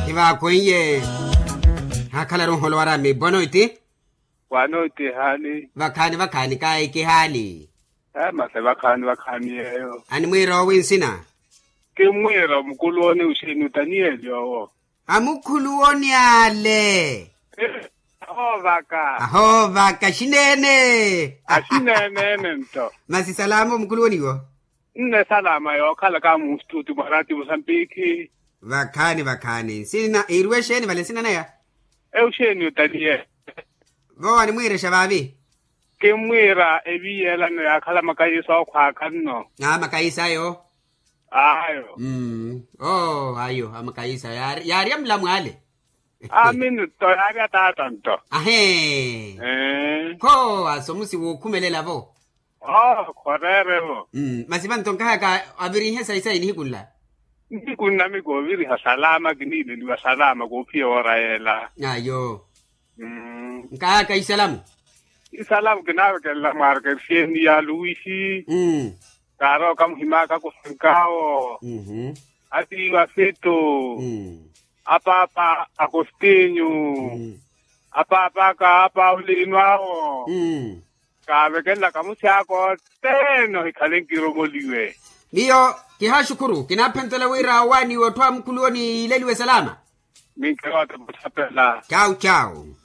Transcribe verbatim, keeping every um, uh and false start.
Kivaakhweiye. Haakhalaru nholowara mi bonoiti. Wanoiti haani. Vakhaani vakhaani kaayi kihaani. Mase vakhaani vakhaani yeeyo. Animwiira owi nsina? Kimmwiira omukuluwoni uxeeni otaniyeli owo. Amukhuluwoni ale. Ahoovaka. Ahoovaka xineene. Axineene ene nto. Masi salama omukhuluwoniwo? Nne salama yookhalaka mustuti mwa rati musambikhi. Vakhaani vakhaani nsina iiriwe exeeni vale nsina naya? Euxeeni otaniyeli. Vowa nimwiirexa vaavi? Kimmwiira eviiyelano yaakhala makayisa okhwaaka nno. Aa makayisa ayo. Ayo. Oo ayo amakayisa yaarya mulamwaale. Aamini nto yaarya taata nto. Ahee. Kho asomusi wookhumelela vo. Oo khoreere vo. Masi vanto nkahaka avirihe sayi sayi nihiku nla. Nihiku nla mi kooviriha salama kiniileliwa salama koophiya woora yeela. Ayo. Nkahaka isalamu. Isalamu kinaavekelela mwaareke efieni ya luwisi. Kaarooka muhimaka kusankaawo. Atiiwa feto. Apaapa akostinyu. Apaapaka apaulino awo. Kaavekelela kamusi aka othene ohikhale nkiromoliwe. Miyo kihaaxukhuru kinaaphentela wira owaaniwe otthu a mukhuluwoni yiileliwe salama. Minkeroota muthapela. Cawu cawu.